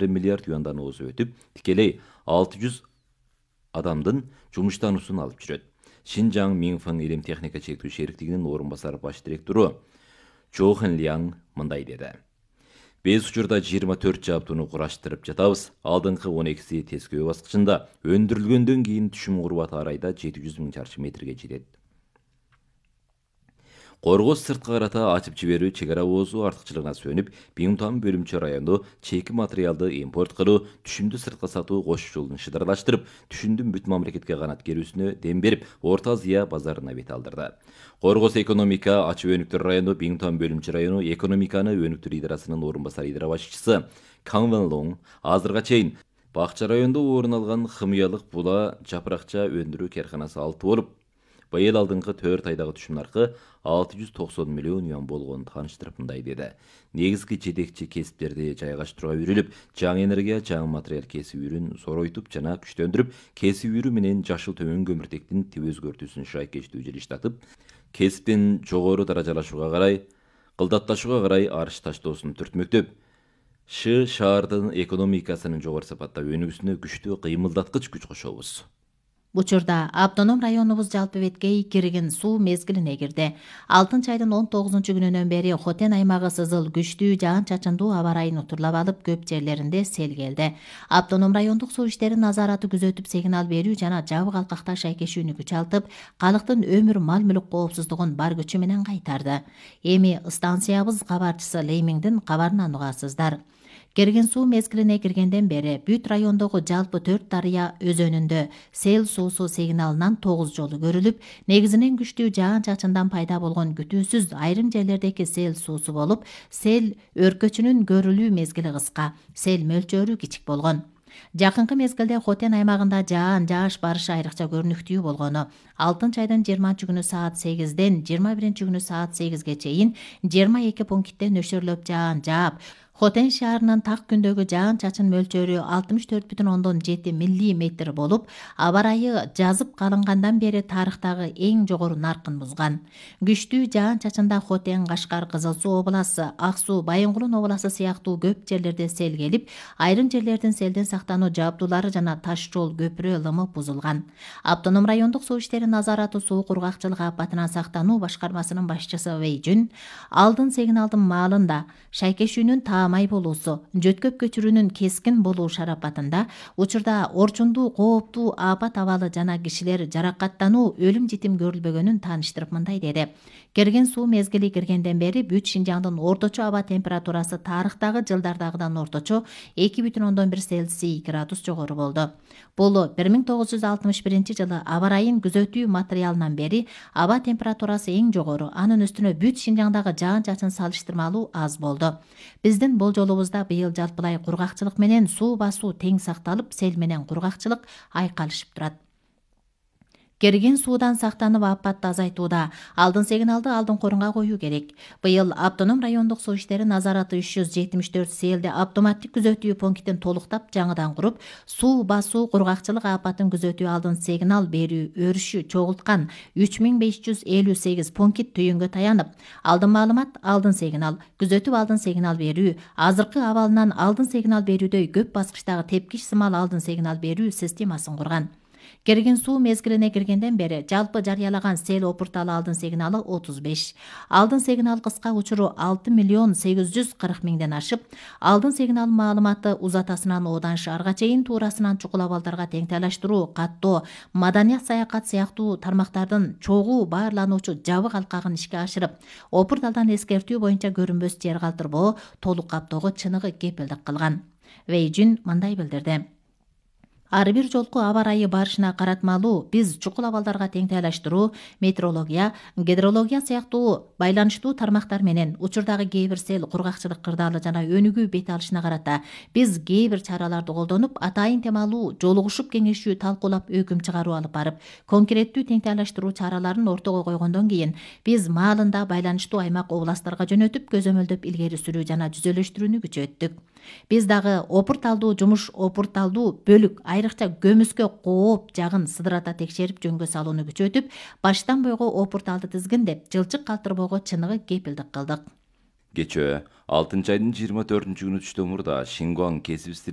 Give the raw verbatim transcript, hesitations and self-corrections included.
миллиард юандан озуп өтүп, тикелей алты жүз адамдын жумуштануусун алып жүрөт. Шинжаң Минфэн илим техника чектүү шериктигинин орун басар баш директору Чо Хэн Ляң мындай деди. Биз учурда жыйырма төрт жабдууну кураштырып жатабыз. Алдыңкы он экиси тескөө баскычында, өндүрүлгөндөн кийин түшүм курбаты арайда жети жүз миң чарчы метрге жетет. Коргоз сырткы карата ачып жиберүү чек ара оозу артыкчылыгына сөнүп, Биңтан бөлүмчө району чеки материалды импорт кылуу, түшүмдү сыртка сатуу кош жолун шыдарлаштырып, түшүмдүн бүт мамлекетке канат керүүсүнө дем берип, Орто Азия базарына бет алдырды. Коргоз экономика ачып өнүктөр району Биңтан бөлүмчө району экономиканы өнүктүрүү идарасынын орун басар идара башчысы Кан Вен Лонг азырга чейин Бакча районунда орун алган хымыялык була жапыракча өндүрүү карканасы алты болуп, быйыл алдыңкы төрт айдагы түшүм наркы алты жүз токсон миллион юан болгонун тааныштырып мындай деди. Негизги жетекчи кесиптерди жайгаштырууга үйрүлүп, жаңы энергия, жаңы материал кесип үйрүн зоройтуп жана күчтөндүрүп, кесип үйрүү менен жашыл төмөн көмүртектин тип өзгөртүүсүн шайкештүү жылыштатып, кесиптин жогору даражалашууга карай, кылдатташууга карай арыш таштоосун түртмөктөп, Ш шаардын экономикасынын жогору сапатта өнүгүүсүнө күчтүү кыймылдаткыч күч кошобуз. Учурда автоном районубуз жалпы беткей кирген суу мезгилине кирди. Алтынчы айдын он тогузунчу күнүнөн бери Хотен аймагы сызыл күчтүү жаан-чачындуу аба ырайын утурлап алып, көп жерлеринде сел келди. Автоном райондук суу иштери назараты күзөтүп, сигнал берүү жана жабык алкакта шайкешүүнү күчалтып, калктын өмүр мал-мүлк коопсуздугун бар күчү менен кайтарды. Эми станциябыз кабарчысы Леймиңдин кабарынан угасыздар. Керген суу мезгилине киргенден бери бүт райондогу жалпы төрт дарыя өзөнүндө сел суусу сигналынан тогуз жолу көрүлүп, негизинен күчтүү жаан-чачындан пайда болгон күтүүсүз айрым жерлердеги сел суусу болуп, сел өркөчүнүн көрүлүү мезгили кыска, сел мөлчөрү кичик болгон. Жакынкы мезгилде Хотен аймагында жаан жааш барышы айрыкча көрүнүктүү болгону, алтынчы айдын жыйырманчы күнү саат сегизден жыйырма биринчи күнү саат сегизге чейин жыйырма эки пунктте нөшөрлөп жаан жаап, Хотен шаарынын так күндөгү жаан-чачын мөлчөрү алтымыш төрт бүтүн ондон жети миллиметр болуп, аба ырайы жазып калынгандан бери тарыхтагы эң жогору наркын бузган. Күчтүү жаан-чачында Хотен, Кашкар, Кызыл Суу обласы, Ак Суу, Байынгулун обласы сыяктуу көп жерлерде сел келип, айрым жерлердин селден сактануу жабдуулары жана таш жол көпүрө лымы бузулган. Автоном райондук суу иштери назараты суу кургакчылык апатынан сактануу башкармасынын башчысы Вэй Жун алдын сигналдын маалында шайкешүүнүн таамай болуусу, жөткөп көчүрүүнүн кескин болуу шарапатында учурда орчундуу кооптуу апат абалы жана кишилер жаракаттануу, өлүм житим көрүлбөгөнүн тааныштырып мындай деди. Керген суу мезгили киргенден бери бүт Шинжаңдын орточо аба температурасы тарыхтагы жылдардагыдан орточо эки бүтүн ондон бир Цельсий градус жогору болду. Бул бир миң тогуз жүз алтымыш биринчи жылы аба ырайын күзөтүү материалынан бери аба температурасы эң жогору, анын үстүнө бүт Шинжаңдагы жаан-чачын салыштырмалуу аз болду. Биздин болжолубузда быйыл жалпылай кургакчылык менен суу басуу тең сакталып, сел менен кургакчылык айкалышып турат. Керген суудан сактанып апатты азайтууда алдын сигналды алдын корунга коюу керек. Быйыл автоном райондук суу иштери назараты үч жүз жетимиш төрт селде автоматтик күзөтүү пунктин толуктап жаңыдан куруп, суу басуу кургакчылык апатын күзөтүү алдын сигнал берүү өрүшү чогулткан үч миң беш жүз элүү сегиз пункт түйүнгө таянып, алдын маалымат, алдын сигнал, күзөтүп алдын сигнал берүү, азыркы абалынан алдын сигнал берүүдөй көп баскычтагы тепкич сымал алдын сигнал берүү системасын курган. Керген суу мезгилине киргенден бери жалпы жарыялаган сел опурталы алдын сигналы отуз беш. Алдын сигнал кыска учуру алты миллион сегиз жүз кырк миңден ашып, алдын сигнал маалыматы узатасынан Одан шаарга чейин туурасынан чукул абалдарга теңтайлаштыруу, каттоо, маданият, саякат сыяктуу тармактардын чогуу баарлануучу жабык алкагын ишке ашырып, опурталдан эскертүү боюнча көрүнбөс жер калтырбоо, толук каптоого чыныгы кепилдик кылган. Вэй Жун мындай билдирди. Ар бир жолку аба ырайы барышына каратмалуу биз чукул абалдарга теңтайлаштыруу, метеорология, гидрология сыяктуу байланыштуу тармактар менен учурдагы кээ бир сел кургакчылык кырдаалы жана өнүгүү бет алышына карата биз кээ бир чараларды колдонуп, атайын темалуу жолугушуп кеңешүү талкуулап өкүм чыгаруу алып барып, конкреттүү теңтайлаштыруу чараларын ортого койгондон кийин биз маалында байланыштуу аймак областтарга жөнөтүп, көзөмөлдөп илгери сүрүү жана жүзөлөштүрүүнү күчөттүк. Биз дагы опурталдуу жумуш, опурталдуу бөлүк, айрыкча көмүскө кооп жагын сыдырата текшерип жөнгө салууну күчөтүп, баштан бойго опурталды тизгиндеп, жылчык калтырбоого чыныгы кепилдик кылдык. Кечээ алтынчы айдын жыйырма төртүнчү күнү түштөн мурда Шингуан кесип